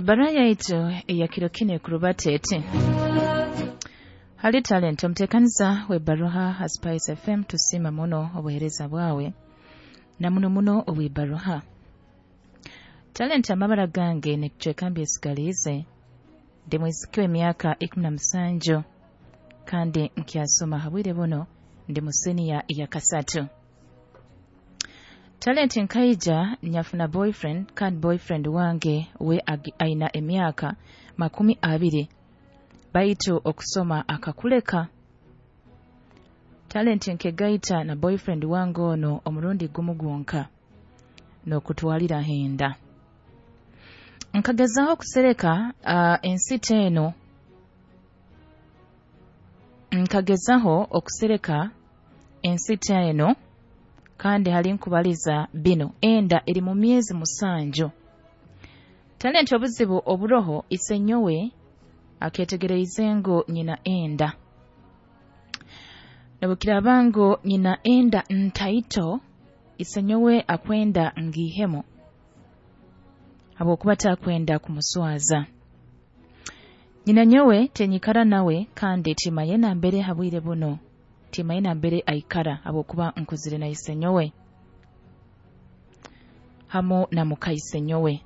Ebbaruha yaitu eya kiro kinu ekurubata eti: Hali Talent, omuteekaniza w'ebbaruha ha Spice FM, tusiima muno obuheereza bwawe na muno muno obw'ebbaruha. Talent, amabara gange nikicweka mbyesigaliize, ndi mwisiki w'emyaka 17 kandi nkyasoma. Habwire buno ndi mu siniya ya kasatu. Talent, nkaija nyafuna boyfriend, kandi boyfriend wange we aina emyaka 20, baitu okusoma akakuleka. Talent, nkegaita na boyfriend wange ono omurundi gumu gwonka n'okutwalira henda. Nkagezaho kusereka ensita eno, nkagezaho okusereka ensita eno, kandi hali nkubaliza bino enda eri mu myezi 7. Talent, obuzibu oburoho, isenyowe aketegereize ngu nyina enda. Nobukiraaba ngu nyina enda ntaito, isenyowe akwenda ngiihemu habwokuba takwenda kumuswaza. Nyina nyowe tinyikara nawe kandi timanye nambere habwire buno, timanye nambere aikara habwokuba nkuzire na isenyowe hamu na muka isenyowe.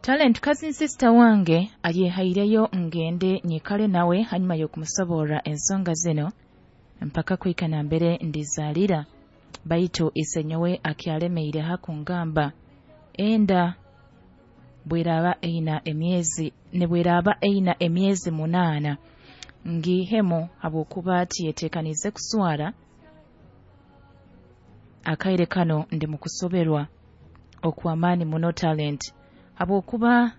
Talent, cousin sister wange ayehaireyo ngende nyikale nawe hanyuma y'okumusoborra ensonga zino mpaka kuhika nambere ndizaalira, baitu isenyowe akyalemeire hakungamba enda bweraaba eina emyezi nibweraaba eina emyezi 8 ngiihemu habwokuba tiyeteekaniize kuswara. Akaire kano ndi mu kusoberwa okw'amaani muno Talent, habwokuba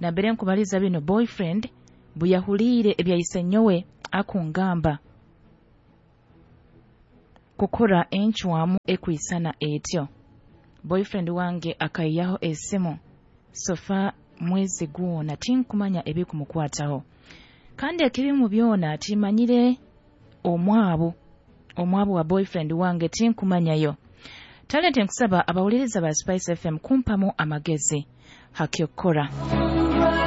nambere nkubaliza bino boyfriend buyahuliire ebya isenyowe akungamba kukora encwamu ekwisana etyo, boyfriend wange akaiyaho esimu sofa mwezi gwona tinkumanya ebikumukwataho, kandi ekirimu byona timanyire omwabu wa boyfriend wange tinkumanyayo. Talent, nkusaba abawuliriza ba Spice FM kumpamu amagezi hakyokukora.